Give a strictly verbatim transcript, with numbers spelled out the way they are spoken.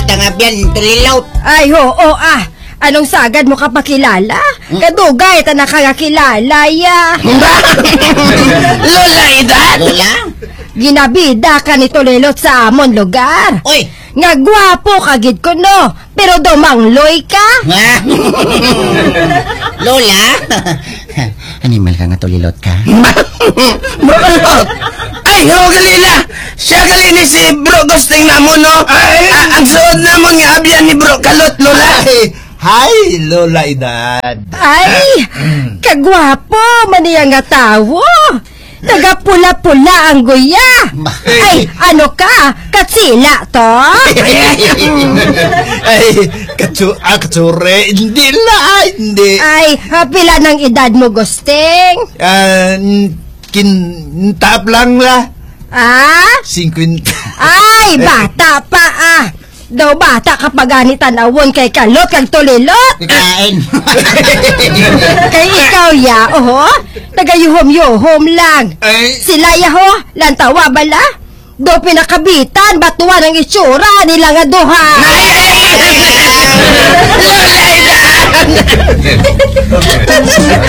Tangabyan, tulilot. Ay, oo, ah. Anong sagad mo kapakilala? Hmm? Kadugay ta nakakakilala, ya. Lola Edad? Lola? Ginabida ka ni Tulilot sa amon lugar. Oy! Nga gwapo ka gid kuno, pero daw mangloy ka. Lola? Animal ka nga Tulilot ka. Bro Kalot! Ay, ho, gali na! Siya gali ni si Bro Gusting namon, no? Ay! A-, ang suod namon nga abyan ni Bro Kalot, Lola. Ay, hi, Lola Edad. Ay, kagwapo man niya nga tawo. Nagapula-pula ang guya. Ma- Ay, ano ka? Katsila to? Ay, katsu-, ah, katsure. Hindi la, hindi. Ay, ah, pila nang edad mo, Gusting? Ah, n-, kin-, taap lang la. Ah? Singkwenta. Ay, bata pa, ah. Daw bata ka pa gani tan-awon kay Kalot kag Tulilot. Kikain. Kay ikaw, ya, oho, nagayuhom-yuhom lang. Ay. Sila, ya, ho, lantawa bala. Daw pinakabitan, batuan ang itsura nila nga duha. Ay, ay, ay, ay, ay.